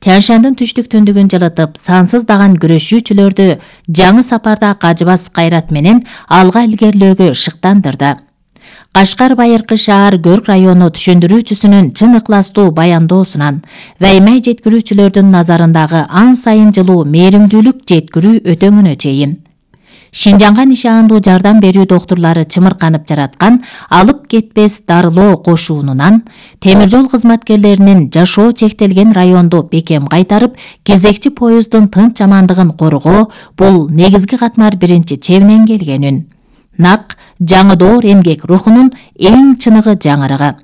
Тянь-Шандын түштүк-түндүгүн жылытып, сансыздаган күрөшүүчүлөрдү жаңы сапарда кажыбас кайрат менен алга илгерлөөгө шыктандырды. Кашкар байыркы шаар Көрк району түшүндүрүүчүсүнүн чын ыкластуу баяндоосунан ваймай жеткирүүчүлөрдүн назарындагы ан сайын жылуу мээримдүүлүк жеткирүү өтөмүнө чейин Шинжаңга нишаандуу жардам берүү доктурлары чымырканып жараткан алып кетпес дарылоо кошуунунан темир жол кызматкерлеринин жашоо чектелген районду бекем кайтарып, кезекчи поезддун тынч амандыгын коргоо бул негизги катмар биринчи чебинен келгенүн. Нак жаңы доор эмгек рухунун эң чыныгы жаңырыгы.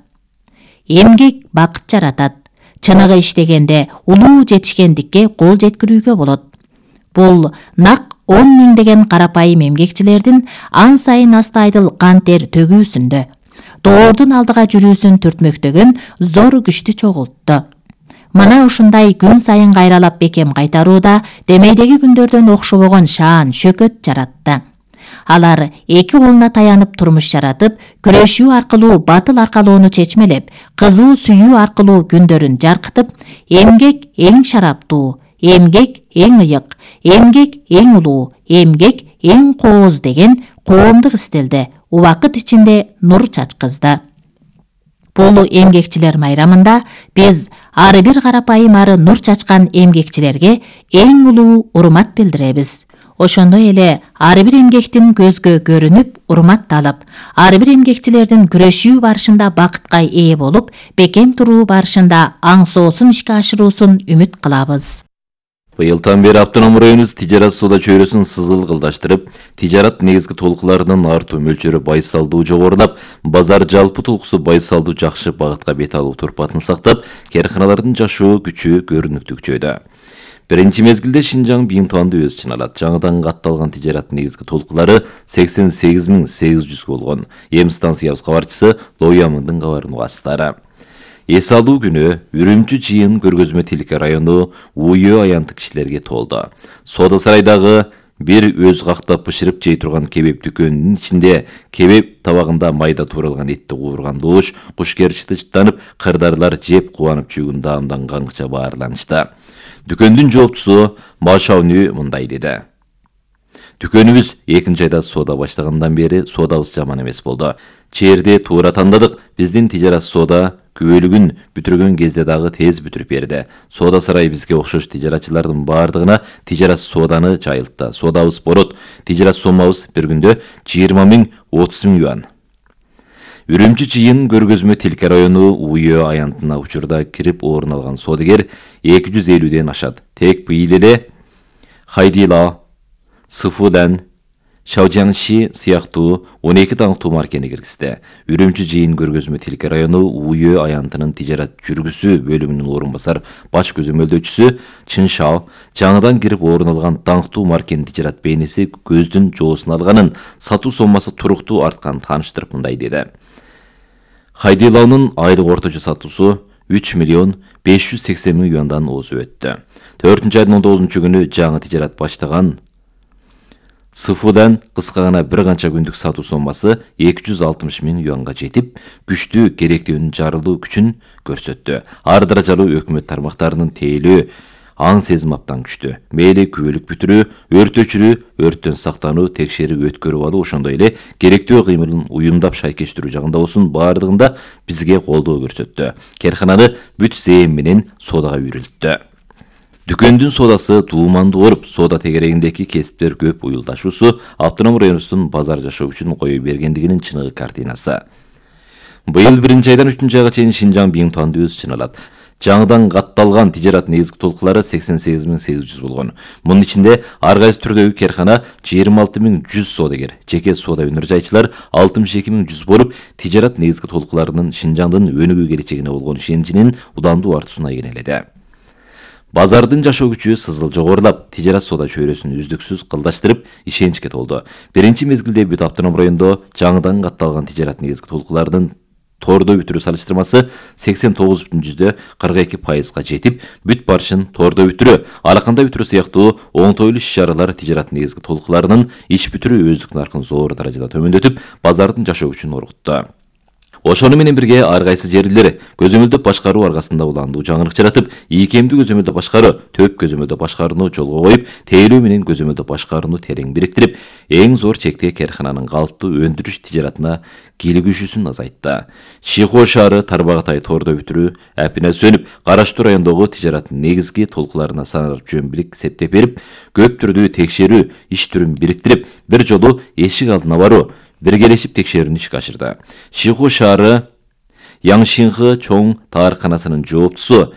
Эмгек бакыт жаратат. Чыныгы иштегенде улуу жетишкендикке кол жеткирүүгө болот. Бул нак 10 миңдеген карапайым эмгекчилердин ан сайын астайдыл кан тер төгүүсүндө, доордун алдыга жүрүүсүн түртмөктөгөн зор күчтү чогултту. Мына ушундай күн сайын кайралап бекем кайтарууда демейдеги күндөрдөн окшобогон шаан шөкөт жаратты. Алар эки колуна таянып турмуш жаратып, күрөшүү аркылуу батыл аркалоону чечмелеп, кызуу сүйүү аркылуу күндөрүн жаркытып, эмгек эң шараптуу, эмгек эң ыйык, эмгек эң улуу, эмгек эң кооз деген коомдук стилде убакыт ичинде нур чачкызды. Бул эмгекчилер майрамында биз ар бир карапайым ары нур чачкан эмгекчилерге эң улуу урмат билдиребиз. Ошондой эле ар бир эмгектин көзгө көрүнүп, урматталып, ар бир эмгекчилердин күрөшүү барышында бакытка ээ болуп, бекем туруу барышында аңсоосун ишке ашыруусун үмүт кылабыз. Быйылдан бери автоном районубуз тижарат соода чөйрөсүн сызылгылдаштырып, тижарат негизги толкуларынын артуу мөлчөрү байсалдуу жогорулап, базар жалпы толкусу байсалдуу жакшы багытка бет алуу турпатын сактап, кээрканалардын жашоо күчү көрүнүктүү күчөйдү. Биринчи мезгилде Шинжаң Бийинтуанды өз ичине алат. Жаңыдан катталган тижарат негизги толкулары 88.800 болгон. Эми станциябыз кабарчысы Лоямындын кабарын угасыздар. Эс алуу күнү Үрүмчү жыйын көргөзмө Тилке району УЙ аянты кишилерге толду. Соода сарайдагы бир өз кактап бышырып жей турган кебеп дүкөнүнүн ичинде кебеп табагында майда тууралган этти куурган доош, кушкерчити чыттанып, кырдарлар жеп кубанып жүргөн даамдан каңкыча баарланышты. Дүкөндүн жооптусу Машауни мындай деди. Дүкөнүбүз 2-айда соода баштагандан бери соодабыз жаман эмес болду. Чээрди туура тандадык. Биздин тижарат соода күбөлүгүн бүтүргөн кезде дагы тез бүтүрүп берди. Соода сарайы бизге окшош тижаратчылардын баардыгына тижарат сооданы жайылтты. Соодабыз борот. Тижарат соммабыз бир күндө 20.000, 30.000 юан. Үрүмчү жыйын көргөзмө Тилке району УЙ аянтына учурда кирип орун алган соодагер 250ден ашат. Тек быйыл эле Хайдила, Сыфудан, Шаожаңши сыяктуу 12 даңктуу маркени киргизди. Үрүмчү жыйын көргөзмө Тилке району УЙ аянтынын тижарат жүргүзүү бөлүмүнүн орун басар баш көзөмөлдөөчүсү Чыншао жаңыдан кирип орун алган даңктуу маркенин тижарат бейнеси көздүн жоосун алганын, сатуу соммасы туруктуу артканын тааныштырып мындай деди. Хайдилаунун айлык орточо сатуусу 3.580.000 юандан озуп өттү. 4-айдын 19-күнү жаңы тижарат баштаган Сыфудан кыска гана бир канча күндүк сатуу соммасы 260.000 юанга жетип, күчтүү керектүүнүн жарылуу күчүн көрсөттү. Ар даражалуу өкмөт тармактарынын тейлөө аң сезим аптан күчтү. Мейли күбөлүк бүтүрүү, өрт өчүрүү, өрттөн сактануу, текшерип өткөрүп алуу, ошондой эле керектүү кыймылын уюмдап шайкештирүү жагында болсун баардыгында бизге колдоо көрсөттү. Керкананы бүт зээн менен соодага үйрөлттү. Дүкөндүн соодасы туумандуу ооруп, соода тегерегиндеги кесиптер көп уюлдашуусу автоном районубуздун базар жашоо үчүн кое бергендигинин чыныгы картинасы. Быйыл 1-айдан 3-айга чейин Шинжаң Бийинтуанды өз ичине алат. Жаңыдан катталган тижарат негизги толкулары 88.800 болгон. Мунун ичинде ар кайсы түрдөгү керкана 26.100 соодагер, жеке соода өнөр жайчылар 62.100 болуп, тижарат негизги толкуларынын Шинжаңдын өнүгүү келечегине болгон ишеничинин удандуу артуусуна кенеледи. Базардын жашоо күчү сызыл жогорулап, тижарат соода чөйрөсүн үздүксүз кылдаштырып, ишеничке толду. Биринчи мезгилде бүт автоном райондо жаңыдан катталган тижарат негизги толкуларынын тордо бүтүрүү салыштырмасы 89.42%га жетип, бүт барышын тордо бүтүрүү, араканда бүтүрүү сыяктуу оңтойлуу иш-чаралар тижарат негизги толкуларынын иш бүтүрүү өздүк наркын зор даражада төмөндөтүп, базардын жашоо күчүн оргутту. Ошону менен бирге ар кайсы жерлер көзөмөлдөп башкаруу аркасында уландуу жаңырык жаратып, ийкемдүү көзөмөлдөө башкаруу, төп көзөмөлдөө башкарууну жолго коюп, тейлөө менен көзөмөлдөө башкарууну терең бириктирип, эң зор чекте каркананын калыптуу өндүрүш тижаратына кийлигишүүсүн азайтты. Шихо шаары Тарбагатай тоордо бүтүрүү апина сөнүп, Караштуу райондогу тижараттын негизги толкуларына саналып жөнбилик септеп берип, көп түрдүү текшерүү иш түрүн бириктирип, бир жолу эшик алдына баруу, биргелешип текшерүүнү ишке ашырды. Шиху шаары Яңшинхы чоң таарканасынын жооптусу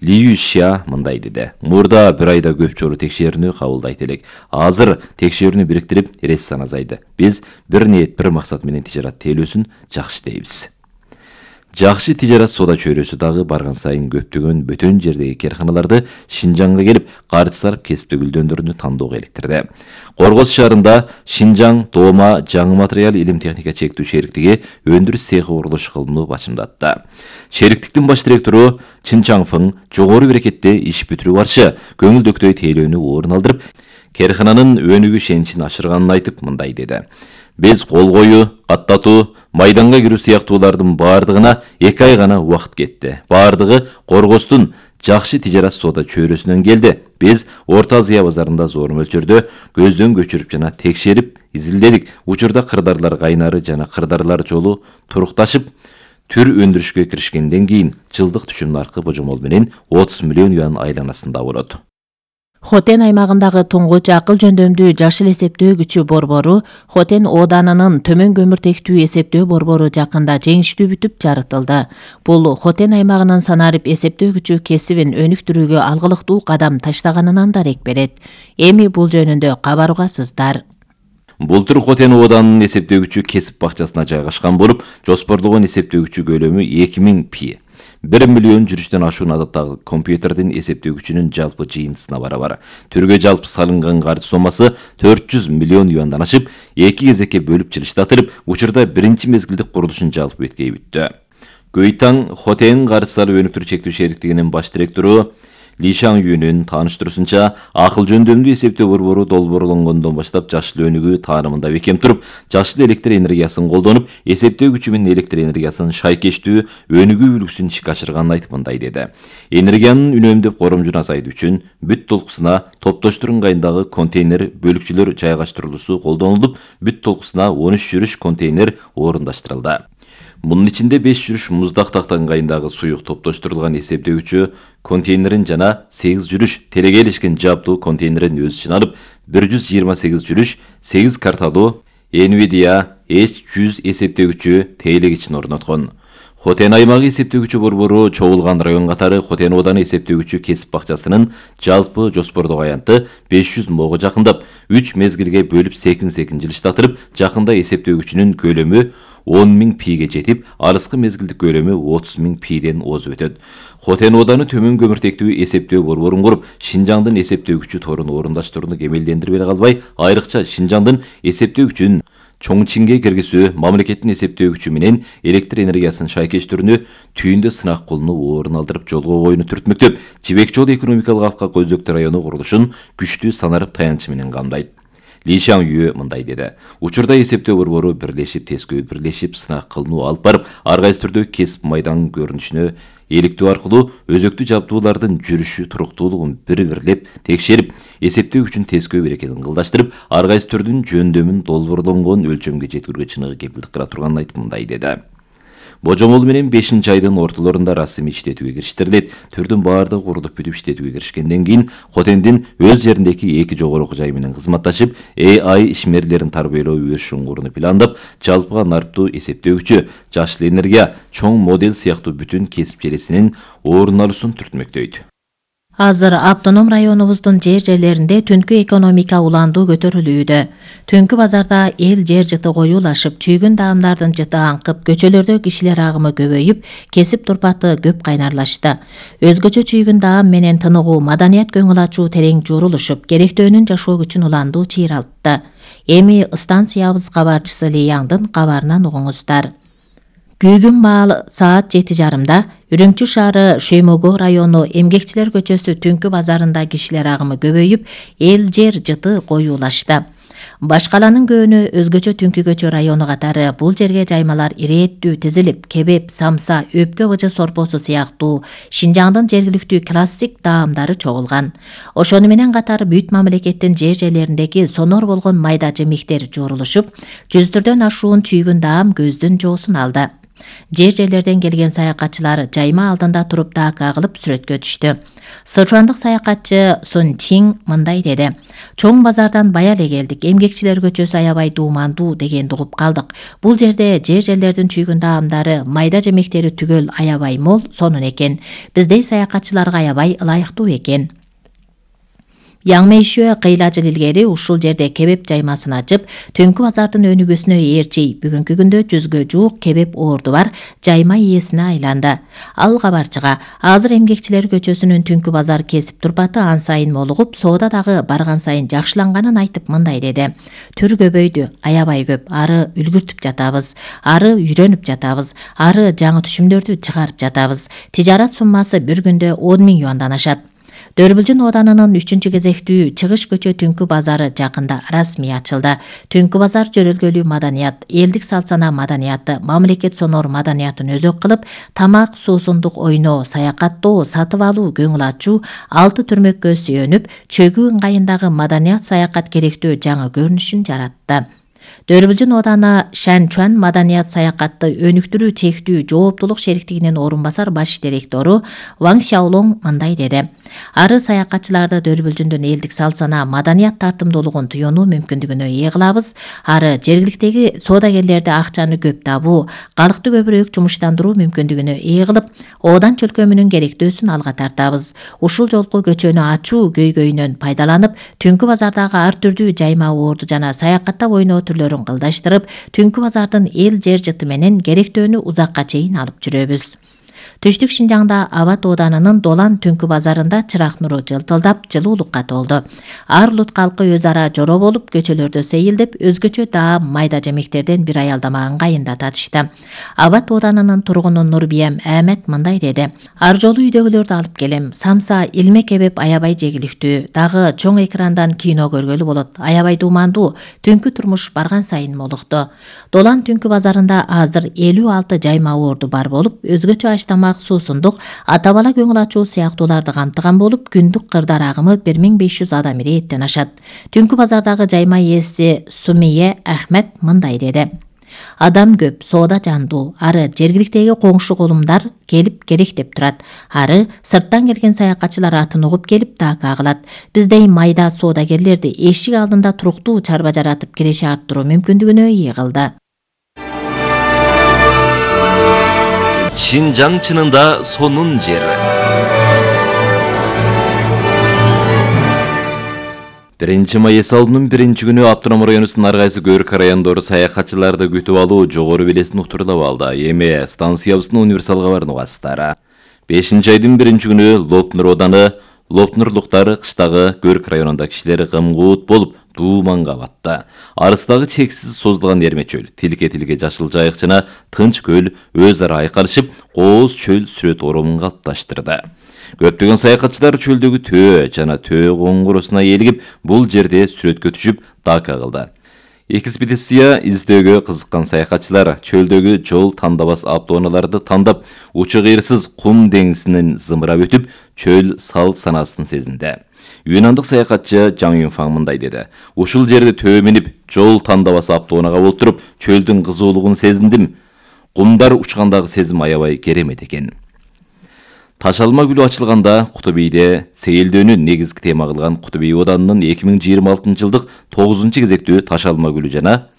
Лию Ша мындай деди. Мурда бир айда көп жолу текшерүүнү кабылдайт элек. Азыр текшерүүнү бириктирип, рессан азайды. Биз бир ниет, бир максат менен тижарат тейлөөсүн жакшы дейбиз. Жакшы тижарат соода чөйрөсү дагы барган сайын көптөгөн бөтөн жердеги карканаларды Шинжаңга келип, каржы сарып кесиптик үлдөндөрүнү тандоого иликтирди. Коргоз шаарында Шинжаң Дома жаңы материал илим техника чектүү шериктиги өндүрүш цехи курулуш кылынуу башымдатты. Шериктиктин баш директору Чин Чаңфың жогору берекетте иш бүтүрүү барчы көңүлдөктөй тейлөөнү орун алдырып, каркананын өнүгүү ишеничин ашырганын айтып мындай деди. Биз кол коюу, каттатуу, майданга кирүү сыяктуулардын баардыгына 2 ай гана убакыт кетти. Баардыгы Коргоздун жакшы тижарат соода чөйрөсүнөн келди. Биз Орто Азия базарында зор мөлчөрдө көздөн көчүрүп жана текшерип изилдедик. Учурда кырдарлар кайнары жана кырдарлар жолу турукташып, түр өндүрүшкө киришкенден кийин жылдык түшүм наркы божомол менен 30 миллион юан айланасында болот. Хотен аймагындагы туңгуч акыл жөндөмдүү жашыл эсептөө күчү борбору Хотен ооданынын төмөн көмүртектүү эсептөө борбору жакында жеңиштүү бүтүп жарытылды. Бул Хотен аймагынын санарип эсептөө күчү кесибин өнүктүрүүгө алгылыктуу кадам таштаганынан дарек берет. Эми бул жөнүндө кабар угасыздар. Бултур Хотен ооданынын эсептөө күчү кесип бакчасына жайгашкан болуп, жоспорлогон эсептөө күчү көлөмү 2000 пи. 1 миллион жүрүштөн ашуун адаттагы компьютердин эсептөө күчүнүн жалпы жыйынтысына барабар. Түргө жалпы салынган каржы сомасы 400 миллион юандан ашып, 2 кезекке бөлүп жылыштатылып, учурда биринчи мезгилдик курулушун жалпы беткей бүттү. Көйтаң Хотен каржы салып өнүктүрүү чектүү шериктигинин баш директору Ли Шаң Юнүн тааныштыруусунча, акыл жөндөмдүү эсептөө борбору долбоорлонгондон баштап жашыл өнүгүү таанымында бекем туруп, жашыл электр энергиясын колдонуп, эсептөө күчү менен электр энергиясын шайкештүү өнүгүү үлгүсүн ишке ашырганын айтып мындай деди. Энергиянын үнөмдөп коромжун азайтуу үчүн бүт толкусуна топтоштур ыңгайындагы контейнер бөлүкчүлөр жайгаштырылуусу колдонулуп, бүт толкусуна 13 жүрүш контейнер орундаштырылды. Мунун ичинде 5 жүрүш муздак такта ыңгайындагы суюк топтоштурулган эсептөө күчү контейнерин жана 8 жүрүш терегелешкен жаптуу контейнерин өз ичине алып, 128 жүрүш 8 карталуу NVIDIA H100 эсептөө күчү тейлегичин орноткон. Хотен аймагы эсептөө күчү борбору чогулган район катары Хотен ооданы эсептөө күчү кесип бакчасынын жалпы жоспордогу аянты 500 мого жакындап, 3 мезгилге бөлүп секин-секин жылыштатырып, жакында эсептөө күчүнүн көлөмү 10.000 пиге жетип, алыскы мезгилдик көлөмү 30.000 пиден озуп өтөт. Хотен ооданы төмөн көмүртектүү эсептөө борборун куруп, Шинжаңдын эсептөө күчү торун орундаштырууну кемелдендирип эле калбай, айрыкча Шинжаңдын эсептөө күчүн Чоңчинге киргизүү, мамлекеттин эсептөө күчү менен электр энергиясын шайкештүүнү түйүндө сынак кылууну орун алдырып жолго коюуну түртмөктөп, Жибек жол экономикалык алка көзөктүү району курулушун күчтүү санарып таянчы менен камдайт. Ли Шаң Ю мындай деди. Учурда эсептөө борбору бирлешип сынак кылууну алып барып, ар кайсы түрдө кесип майдан көрүнүшүнө эликтөө аркылуу өзөктүү жабдуулардын жүрүшү туруктуулугун бирлеп текшерип, эсептөө үчүн тескөө берекетин ылдаштырып, ар кайсы түрдүн жөндөмүн долбоорлонгон өлчөмгө жеткирүүгө чыныгы кепилдик кыла турганын айтып мындай деди. Божомол менен 5-айдын ортолорунда расмий иштетүүгө кириштерилет. Түрдүн баардыгы курулуп бүтүп иштетүүгө киришкенден кийин Хотендин өз жериндеги 2 жогору окуу жайы менен кызматташып, AI ишмерлерин тарбиялоо өрүш шуңгурун пландап, жалпыга нарптуу эсептөө күчү, жашыл энергия, чоң модель сыяктуу бүтүн кесип желесинин орун алуусун түртмөктөйт. Азыр автоном районубуздун жерлеринде түнкү экономика уландуу көтөрүлүүдө. Түнкү базарда эл жер жыты коюлашып, чүйгүн даамдардын жыты аңкып, көчөлөрдө кишилер агымы көбөйүп, кесип турпаты көп кайнарлашты. Өзгөчө чүйгүн даам менен тыныгуу, маданият көңүл ачуу терең журулушуп, керектөөнүн жашоо күчүн уландуу чыйралтты. Эми станциябыз кабарчысы Лияңдын кабарынан угуңуздар. Күйгүн маал саат 7:30 Үрүмчү шаары Шөймөгө району Эмгекчилер көчөсү түнкү базарында кишилер агымы көбөйүп, эл жер жыты коюлашты. Башкаланын көөнү өзгөчө Түнкү көчө району катары бул жерге жаймалар ирээттүү тизилип, кебеп, самса, өпкө быжы сорпосу сыяктуу Шинжаңдын жергиликтүү классик таамдары чогулган. Ошону менен катар бүт мамлекеттин жер-жерлериндеги сонор болгон майда жемиктер жуурулушуп, 100дөн ашуун чүйгүн даам көздүн жоосун алды. Жер-жерлерден келген саякатчылар жайма алдында туруп дака кылып сүрөткө түштү. Сычуандык саякатчы Сун Чин мындай деди: "Чоң базардан бая эле келдик, эмгекчилер көчөсү аябай дуумандуу дегенди угуп калдык. Бул жерде жер-жерлердин чүйгүн даамдары, майда жемектери түгөл аябай мол сонун экен. Биздей саякатчыларга аябай ылайыктуу экен." Яңмейшөө кыйла жыл илгери ушул жерде кебеп жаймасын ачып, Түнкү базардын өнүгүүсүнө ээрчей бүгүнкү күндө 100гө жуук кебеп орду бар жайма ээсине айланды. Ал кабарчыга азыр эмгекчилер көчөсүнүн Түнкү базар кесип турпаты ан сайын молугуп, соода дагы барган сайын жакшыланганын айтып мындай деди: "Түр көбөйдү, аябай көп. Ары үлгүртүп жатабыз, ары үйрөнүп жатабыз, ары жаңы түшүмдөрдү чыгарып жатабыз. Тижарат суммасы бир күндө 10 000 юандан ашат." Дөрбүлжүн Оданынын 3-кезектүү чыгыш көчө Түнкү базары жакында расмий ачылды. Түнкү базар жөрөлгөлүү маданият, элдик салт-сана маданияты, мамлекет сонор маданиятын өзөк кылып, тамак, суусундук ойноо, саякаттоо, сатып алуу, көңүл ачуу, 6 түрмөккө сүйөнүп, чөгүү ыңгайындагы маданият саякат керектүү жаңы көрүнүшүн жаратты. Дөрбүлжүн Оданы Шанчуан маданият саякатты өнүктүрүү чектүү жооптулук шериктигинин орун басар баш директору Ван Сяолонг мындай деди: "Ары саякатчыларды Дөрбүлжүндүн элдик салт-сана маданият тартымдуулугун туюунуу мүмкүндүгүнө ээ кылабыз. Ары жергиликтеги соодагерлерди акчаны көп табуу, калкты көбүрөөк жумуштандыруу мүмкүндүгүнө ээ кылып, Одан чөлкөмүнүн керектөөсүн алга тартабыз. Ушул жолку көчөнү ачуу көйгөйүнөн пайдаланып, Түнкү базардагы ар түрдүү жайма орду жана саякаттап ойноо түрлөрүн кылдаштырып, Түнкү базардын эл жер жыты менен керектөөнү узакка чейин алып жүрөбүз." Түштүк Шинжаңда Абат Оданынын Долан Түнкү базарында чырак нуру жылтылдап, жылуулукка толду. Ар улут калкы өз ара жороо болуп, көчөлөрдө сейилдеп, өзгөчө даам майда жемектерден бир аялдама ыңгайында татышты. Абат Оданынын тургуну Нурбиям Ахмет мындай деди: "Ар жолу үйдөгүлөрдү алып келем. Самса, илме кебеп аябай жегиликтүү. Дагы чоң экрандан кино көргөлү болот. Аябай дуумандуу. Түнкү турмуш барган сайын молукту." Долан Түнкү базарында азыр 56 жайма орду бар болуп, өзгөчө тамак, суусундук, ата-бала көңүл ачуу сыяктууларды камтыган болуп, күндүк кырдар агымы 1500 адам ирээттен ашат. Түнкү базардагы жайма ээси Сумие Ахмет мындай деди: "Адам көп, соода жандуу. Ары жергиликтеги коңшу колумдар келип керек деп турат. Ары сырттан келген саякатчылар атын угуп келип дака кылат. Биздей майда соодагерлерди эшик алдында туруктуу чарба жаратып киреше арттыруу мүмкүндүгүнө ээ кылды." Шинжаң чынында сонун жер. 1-май эс алуунун 1-күнү Автоном районунун ар кайсы көрк райондору саякатчыларды күтүп алуу жогору белесин утурлап алды. Эми станциябыздын универсал кабарын угасыздар. 5-айдын 1-күнү Лопнур Оданы, Лопнурлуктар кыштагы көрк районунда кишилер кымгуут болуп дууманга батты. Арыстагы чексиз созулган эрме чөл, тилке-тилке жашыл жайык жана тынч көл өз ара айкалышып, кооз чөл сүрөт оромун калыпташтырды. Көптөгөн саякатчылар чөлдөгү төө жана төө коңгуросуна ээлигип, бул жерде сүрөткө түшүп, дака кылды. Экспедиция издөөгө кызыккан саякатчылар чөлдөгү жол тандабас автоунааларды тандап, учу кыйырсыз кум деңизинен зымырап өтүп, чөл салт санасын сезинди. Юнандык саякатчы Жаң Юнфаң мындай деди: "Ушул жерде төө минип, жол тандабас автоунага олтуруп, чөлдүн кызуулугун сезиндим. Кумдар учкандагы сезим аябай керемет экен." Ташалма гүлү ачылганда Кутубийде сейилдөөнү негизги тема кылган Кутубий Оданынын 2026-жылдык 9-кезектүү Ташалма гүлү жана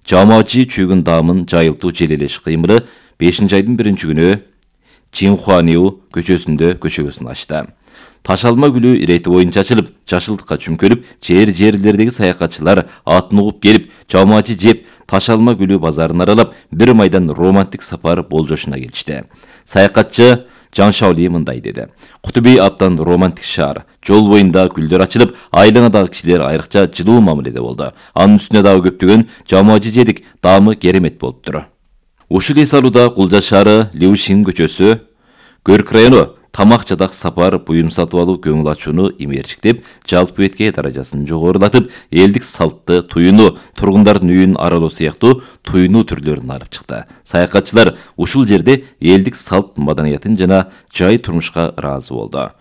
жамаачы чүйгүн даамын жайылтуу желелеш кыймылы 5-айдын 1-күнү Чинхуаниу көчөсүндө көчөгөсүн ачты. Ташалма гүлү ирети боюнча ачылып, жашылдыкка чүмкөлүп, жерлердеги саякатчылар атын угуп келип, жамаачы жеп, Ташалма гүлү базарын аралап, 1 майдан романтик сапар болжошуна келишти. Саякатчы Жан Шаули мындай деди: "Кутубий абдан романтик шаар. Жол боюнда гүлдөр ачылып, айланадагы кишилер айрыкча жылуу мамиледе болду. Анын үстүнө дагы көптөгөн жамаачы жедик, даамы керемет болуптур." Ушул эс алууда Кулжа шаары, Лиушин көчөсү, Көрк району, тамак жадак сапар, буюм сатып алуу көңүл ачууну имерчиктеп, жалпы бетке даражасын жогорулатып, элдик салтты, туюну, тургундардын үйүн аралоо сыяктуу туюну түрлөрүн алып чыкты. Саякатчылар ушул жерде элдик салт маданиятын жана жай турмушка ыраазы болду.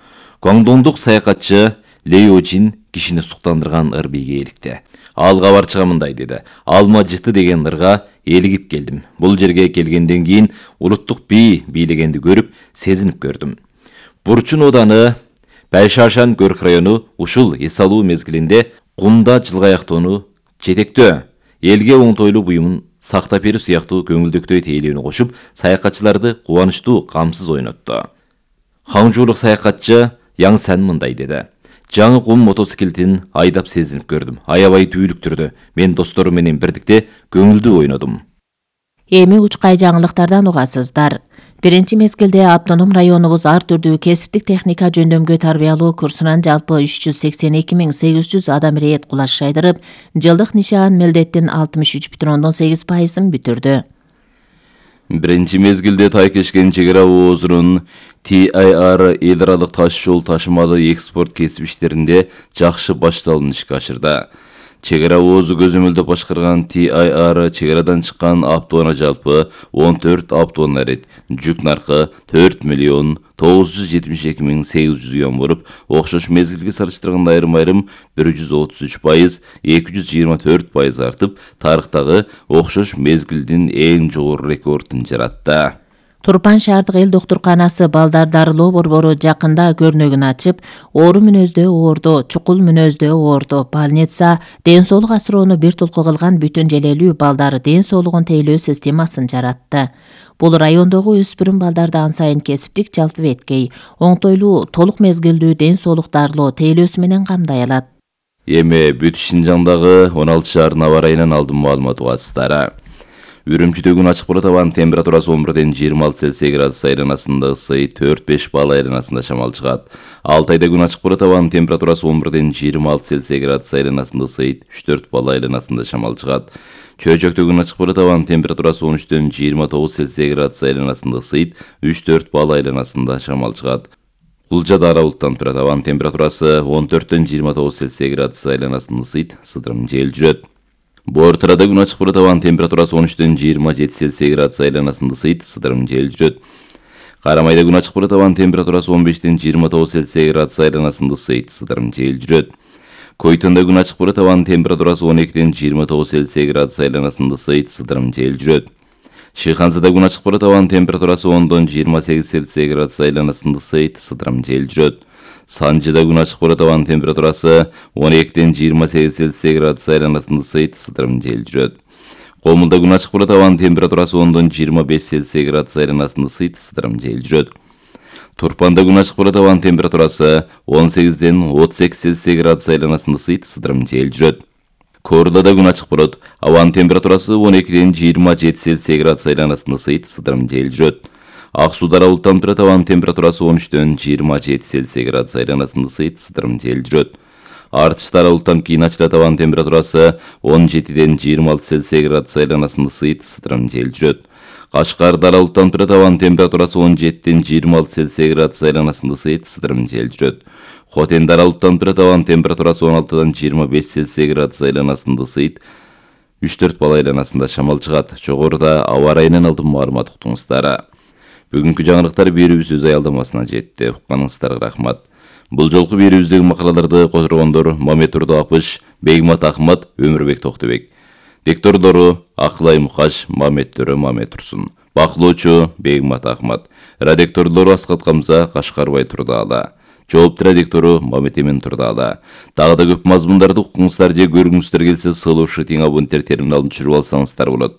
Гуандоңдук саякатчы Леожин кишини суктандырган ыр бийге эликти. Ал кабарчыга мындай деди: "Алма жыты деген ырга элигип келдим. Бул жерге келгенден кийин улуттук бий бийлегенди көрүп, сезинип көрдүм. Бурчун ооданы Байшашан Көрк району ушул эс алуу мезгилинде кумда жылгаяктоону жетектөө, элге оңтойлуу буюмун сактап берүү сыяктуу көңүлдүктөй тейлөөнү кошуп, саякатчыларды кубанычтуу, камсыз ойнотту. Хаңжуулук саякатчы Яң Сэн мындай деди: "Жаңы кум мотоциклетин айдап сезинип көрдүм. Аябай дүүлүктүрдү. Мен досторум менен бирдикте көңүлдүү ойнодум." Эми учкай жаңылыктардан угасыздар. Биринчи мезгилде автоном районубуз ар түрдүү кесиптик техника жөндөмгө тарбиялоо курсунан жалпы 382.800 адам ирет кулаш шайдырып, жылдык нишан милдеттин 63,8%ын бүтүрдү. Биринчи мезгилде Тайкешкен чек ара оозунун TIR эл аралык таш жол ташымалы экспорт кесип иштеринде жакшы башталуун ишке ашырды. Чек ара оозу көзөмөлдөп башкарган TIR чек арадан чыккан автоунаа жалпы 14 автоунаа ирет. Жүк наркы 4.972.800 юан болуп, окшош мезгилге салыштырганда айрым-айрым 133%, 224% артып, тарыхтагы окшош мезгилдин эң жогору рекордун жаратты. Турпан шаардык эл доктурканасы балдар дарылоо борбору жакында көрнөгүн ачып, оору мүнөздүү оорду, чукул мүнөздүү оорду, больница, ден соолук асыроону бир толку кылган бүтүн желелүү балдар ден соолугун тейлөө системасын жаратты. Бул райондогу өспүрүм балдарды ан сайын кесиптик жалпы беткей, оңтойлуу, толук мезгилдүү ден соолук дарылоо тейлөөсү менен камдай алат. Эми бүт Шинжаңдагы 16 шаардын аба ырайынан алдын маалымат угасыздары. Үрүмчүдө күн ачык болот, абанын температурасы 11-26 Цельсий градус айланасында, ысый 4-5 балл айланасында шамал чыгат. Алтайда күн ачык болот, абанын температурасы 11-26 Цельсий градус айланасында, ысый 3-4 балл айланасында шамал чыгат. Чөйчөктө күн ачык болот, абанын температурасы 13-29 Цельсий градус айланасында, ысый 3-4 балл айланасында шамал чыгат. Кулжада ара булуттанып турат, абанын температурасы 14-29 Цельсий градус айланасында, ысый сыдырым жел жүрөт. Бортырада күн ачык болот, абанын температурасы 13-27 Цельсий градус айланасында, ысый сыдырым жел жүрөт. Карамайда күн ачык болот, абанын температурасы 15-29 Цельсий градус айланасында, ысый сыдырым жел жүрөт. Койтонда күн ачык болот, абанын температурасы 12-29 Цельсий градус айланасында, ысый сыдырым жел жүрөт. Шыйханзада күн ачык болот, абанын температурасы 10-28 Цельсий градус айланасында, ысый сыдырым жел жүрөт. Санжыда күн ачык болот, абанын температурасы 12-28 Цельсий градус айланасында, ысый сыдырым жел жүрөт. Комулда күн ачык болот, абанын температурасы 10-25 Цельсий градус айланасында, ысый сыдырым жел жүрөт. Турпанда күн ачык болот, абанын температурасы 18-38 Цельсий градус айланасында, ысый сыдырым жел жүрөт. Корлада күн ачык болот, абанын температурасы 12-27 Цельсий градус айланасында, ысый сыдырым жел жүрөт. Аксууда булуттанып турат, абанын температурасы 13-27 Цельсий градус айланасында, ысый сыдырым жел жүрөт. Артыштар булуттанып кийин ачылат, абанын температурасы 17-26 Цельсий градус айланасында, ысый сыдырым жел жүрөт. Кашкарда булуттанып турат, абанын температурасы 17-26 Цельсий градус айланасында, ысый сыдырым жел жүрөт. Хотенда булуттанып турат, абанын температурасы 16-25 Цельсий градус айланасында, ысый 3-4 балл айланасында шамал чыгат. Жогоруда аба ырайынан алдын маалымат уктуңуздар. Бүгүнкү жаңылыктар берүүбүз өз аялдамасына жетти. Укканыңыздарга рахмат. Бул жолку берүүбүздөгү макалаларды которгондор Мамет Турдуапыш, Бегмат Ахмат, Өмүрбек Токтобек. Диктордору Акылай Мукаш, Мамет Төрө Мамет Турсун. Бакылоочу Бегмат Ахмат. Редакторлору Аскат Камза, Кашкарбай Турдаала. Жооптуу редактору Мамет Эмен Турдаала. Дагы да көп мазмундарды укуңуздар же көргүңүздөр келсе, сылыушы тең абоненттер терминалын түшүрүп алсаңыздар болот.